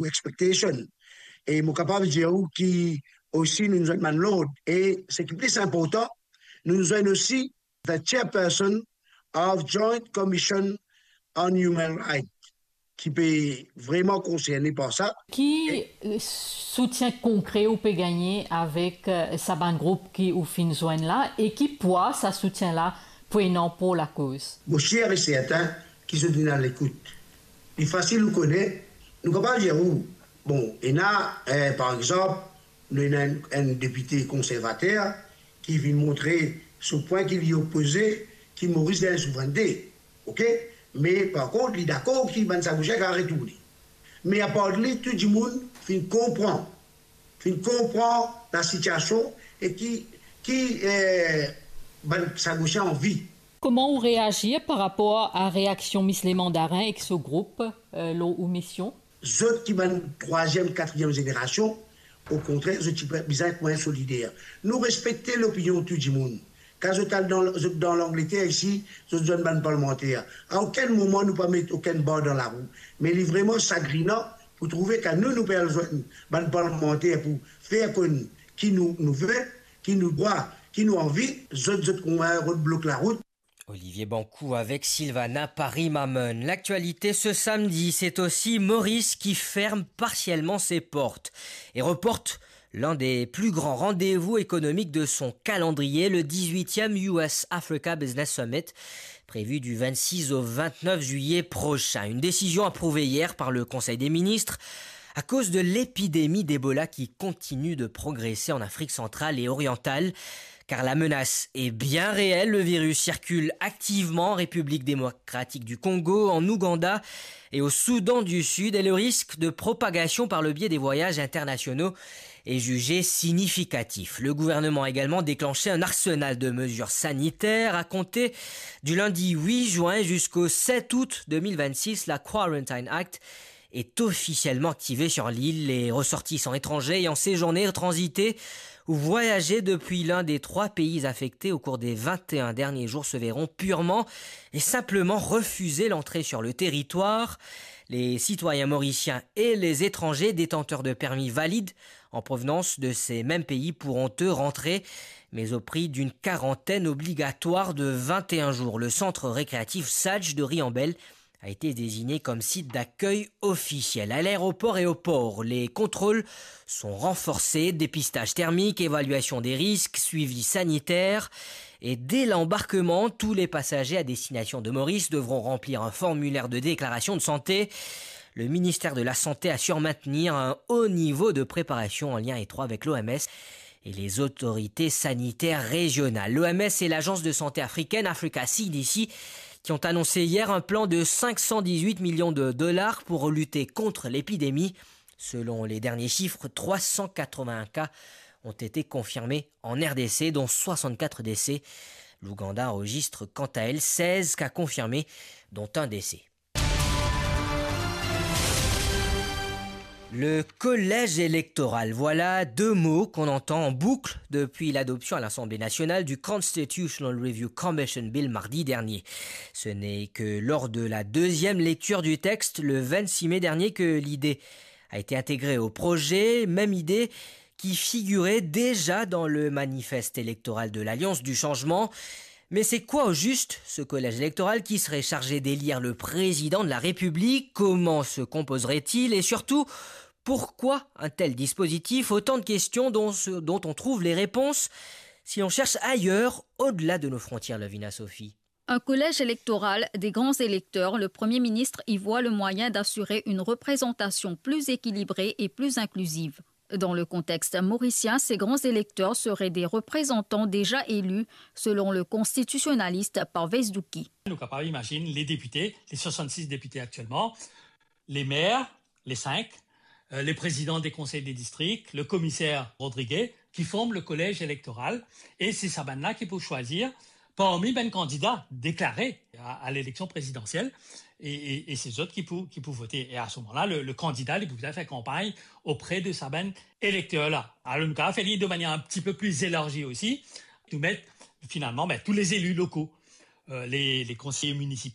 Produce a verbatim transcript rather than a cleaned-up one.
ou expectation. E mo kapav dir ou ki osi nou zwenn bann lord. E seki pli inportan, nou zwenn osi the chairperson of Joint Commission on Human Rights, ki pe vreman konserne par sa. Ki, eh, soutien konkre ou pe gagne avek, eh, sa bann group ki ou finn zwenn la, e ki pwa sa soutien la pou ena pou lakoz? Mo sir e sertin ki zot inn a lekout. Li fasil ou kone, nou kapav dir ou, bon, ena, eh, par exanp, nou ena enn, enn depite konservater ki vinn montre so pwin ki li opoze ki Moris gagn souvrennte. Ok? Me par kont, li dakor ki bann Sagosien kapav retourne. Me apar li, tou dimoun finn konpran, finn konpran lasitiasion e ki, ki, eh, bann Sagosien anvi. Kouma ou reazir par rapor a reaksion Miss Le Mandarin ek so group, eh, lor ou mision? Zot ki bann trwaziem, katriem zenerasion, okontrer, zot ti pe bizin kouma solider. Nou respekte lopinion tou dimoun. Kan zot al dan, zot dan Langleter isi, zot zwenn bann parlmanter. A okenn moman nou pa met okenn bar dan larou. Me li vreman sagrinan pou trouve kan nou, nou pe al zwenn bann parlmanter pou fer konn ki nou, nou ve, ki nou drwa, ki nou anvi, zot, zot kouma rod blok larout. Olivier Bancoult avec Sylvana Paris-Mamon. L'actualité ce samedi, c'est aussi Maurice qui ferme partiellement ses portes et reporte l'un des plus grands rendez-vous économiques de son calendrier, le dix-huitième U S Africa Business Summit, prévu du vingt-six au vingt-neuf juillet prochain. Une décision approuvée hier par le Conseil des ministres à cause de l'épidémie d'Ebola qui continue de progresser en Afrique centrale et orientale. Car la menace est bien réelle, le virus circule activement en République démocratique du Congo, en Ouganda et au Soudan du Sud, et le risque de propagation par le biais des voyages internationaux est jugé significatif. Le gouvernement a également déclenché un arsenal de mesures sanitaires. À compter du lundi huit juin jusqu'au sept août deux mille vingt-six, la Quarantine Act est officiellement activé sur l'île. Les ressortissants étrangers ayant séjourné, transité ou voyagé depuis l'un des trois pays affectés au cours des vingt et un derniers jours se verront purement et simplement refuser l'entrée sur le territoire. Les citoyens mauriciens et les étrangers détenteurs de permis valides en provenance de ces mêmes pays pourront, eux, rentrer, mais au prix d'une quarantaine obligatoire de vingt et un jours. Le centre récréatif Sage de Riambel a été désigné comme site d'accueil officiel. À l'aéroport et au port, les contrôles sont renforcés, dépistage thermique, évaluation des risques, suivi sanitaire. Et dès l'embarquement, tous les passagers à destination de Maurice devront remplir un formulaire de déclaration de santé. Le ministère de la Santé assure maintenir un haut niveau de préparation en lien étroit avec l'O M S et les autorités sanitaires régionales. L'O M S et l'agence de santé africaine Africa C D C qui ont annoncé hier un plan de cinq cent dix-huit millions de dollars pour lutter contre l'épidémie. Selon les derniers chiffres, trois cent quatre-vingts cas ont été confirmés en R D C, dont soixante-quatre décès. L'Ouganda enregistre quant à elle seize cas confirmés, dont un décès. Le collège électoral, voilà deux mots qu'on entend en boucle depuis l'adoption à l'Assemblée nationale du Constitutional Review Commission Bill mardi dernier. Ce n'est que lors de la deuxième lecture du texte, le vingt-six mai dernier, que l'idée a été intégrée au projet, même idée qui figurait déjà dans le manifeste électoral de l'Alliance du Changement. Mais c'est quoi au juste ce collège électoral qui serait chargé d'élire le président de la République ? Comment se composerait-il ? Et surtout, pourquoi un tel dispositif ? Autant de questions dont, dont on trouve les réponses si l'on cherche ailleurs, au-delà de nos frontières, Lovina Sophie. Un collège électoral des grands électeurs, le Premier ministre y voit le moyen d'assurer une représentation plus équilibrée et plus inclusive. Dans le contexte mauricien, ces grands électeurs seraient des représentants déjà élus, selon le constitutionnaliste Parvez Douki. Nou kapav imazinn les députés, les soixante-six députés actuellement, les maires, les cinq, euh, les présidents des conseils des districts, le commissaire Rodriguez, qui forment le collège électoral. Et c'est sa bann-la ki pou swazir parmi bann kandida deklare à, à l'élection présidentielle. Et, et, et c'est zot ki pou, ki pou vote. Et à ce moment-là, le, le candidat, li pou bizin fer kanpagn auprès de sa bann électeurs-là. Alors, nou kapav fer li de manière un petit peu plus élargie aussi. Nou met, finalement, ben, tous les élus locaux, euh, les, les conseillers municipaux,